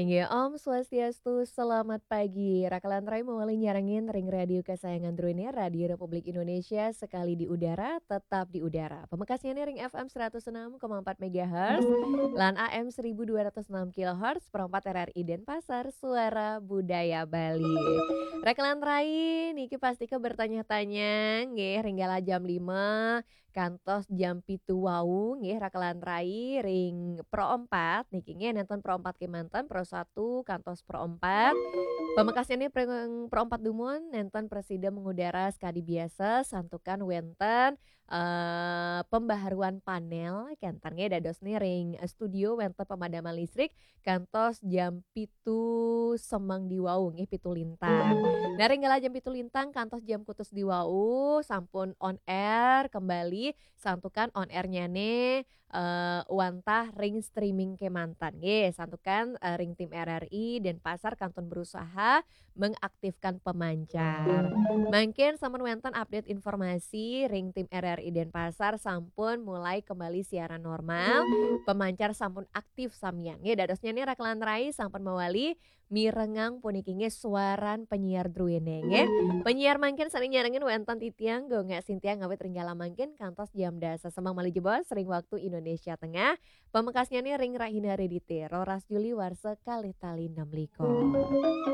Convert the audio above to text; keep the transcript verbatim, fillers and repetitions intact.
Nggih, Om Swastiastu, selamat pagi. Raka lan rai mawali nyarengin ring radio kesayangan druéné, Radio Republik Indonesia, sekali di udara, tetap di udara. Pamekasnyané ring F M seratus enam koma empat megahertz lan A M seribu dua ratus enam kilohertz, pro empat R R I Denpasar, Suara Budaya Bali. Raka lan rai niki pastika bertanya-tanya, nggih, ring kala jam lima kantos jam pitu wau, nggih, raka lan rai ring pro empat niki, nggih, nénten pro empat kémanten, pro satu kantos pro empat. Pamekasnyané ring pro empat dumun, nénten prasida mengudara sakadi biasa, santukan wénten, eh, pembaharuan panel, kénten, nggih, dadosné ring studio wénten pemadaman listrik, kantos jam pitu semeng di wau, nggih, pitu lintang. Nah, ring kala jam pitu lintang kantos jam kutus di wau, sampun on air kembali, santukan on airnyané, eh, wantah ring streaming kémanten, nggih, santukan, eh, ring tim R R I Denpasar kantun berusaha mengaktifkan pemancar. Mangkin sampun wénten update informasi ring tim R R I Denpasar sampun mulai kembali siaran normal, pemancar sampun aktif samian. Nggih, dadosnyané raka lan rai sampun mawali mirengang puniki, nggih, suaran penyiar druéné, nggih. Penyiar mangkin sané nyarengin wénten titiang Gung Sintia ngawit ring kala mangkin kantos jam dasa semeng malih jebos ring waktu Indonesia Tengah. Pamekasnyané ring rahina Redité, roras Juli warsa kalih tali enam likur.